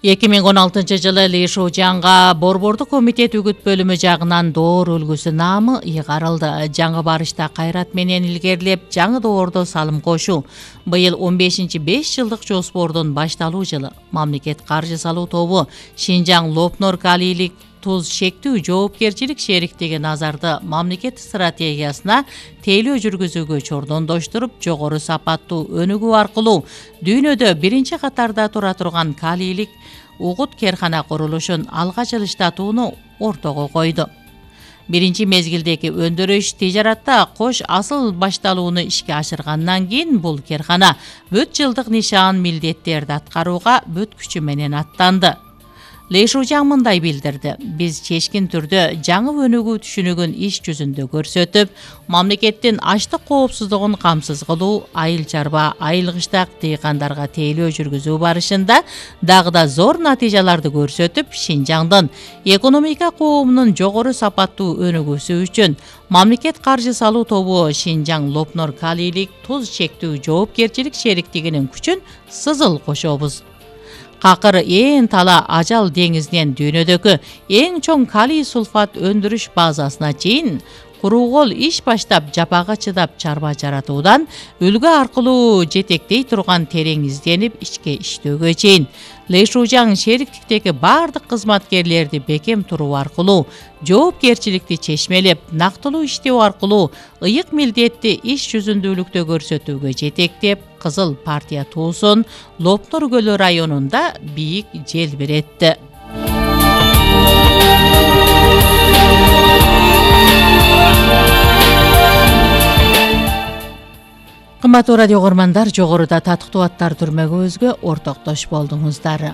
2016-жылы Ли Шужанга Борбордук комитет үгүт бөлүмү жагынан доор үлгүсү наамы ыйгарылды. Жаңы барышта кайрат менен илгерилеп, жаңы доордо салым кошуу. Быйыл 15-5 жылдык жоспордун башталуу жылы. Мамлекет каржы салуу тобу Шинжаң Лопнор калийлик туз шектүү жоопкерчилик шериктиги назарды мамлекет стратегиясына тейлөө жүргүзүүгө чордондоштуруп, жогору сапаттуу өнүгүү аркылуу дүйнөдө биринчи катарда тура турган калийлик угут керкана курулушун алга жылыштатууну ортого койду. Биринчи мезгилдеги өндүрүш тижаратта кош асыл башталууну ишке ашыргандан кийин бул керкана бүт жылдык нишан милдеттерди аткарууга бүт күчү менен аттанды. Ли Шужаң мындай билдирди: биз чечкин түрдө жаңы өнүгүү түшүнүгүн иш жүзүндө көрсөтүп, мамлекеттин ачлык коопсуздугун камсыз кылуу, айыл чарба, айыл кыштак дыйкандарга тейлөө жүргүзүү барышында дагы да зор натыйжаларды көрсөтүп, Шинжаңдын экономика коомунун жогору сапаттуу өнүгүүсү үчүн мамлекет каржы салуу тобу Шинжаң Лопнор калийлик туз шектүү жоопкерчилик шериктигинин күчүн сызыл кошобуз. Какыр ээн тала ажал деңизинен дүйнөдөгү эң чоң калий сулфат өндүрүш базасына чейин куруукол иш баштап, жапага чыдап чарба жаратуудан үлгү аркылуу жетектей турган терең изденип ичке иштөөгө чейин Ли Шужаң шериктиктеги бардык кызматкерлерди бекем туруу аркылуу, жоопкерчиликти чечмелеп, нактылуу иштөө аркылуу ыйык милдетти иш жүзүндүүлүктө көрсөтүүгө жетектеп, Кызыл партия туусун Лопнор көлү районунда бийик желбиретти. Кымбаттуу радио көрмандар, жогоруда татыктуу аттар түрмөгүбүзгө ортоктош болдуңуздар.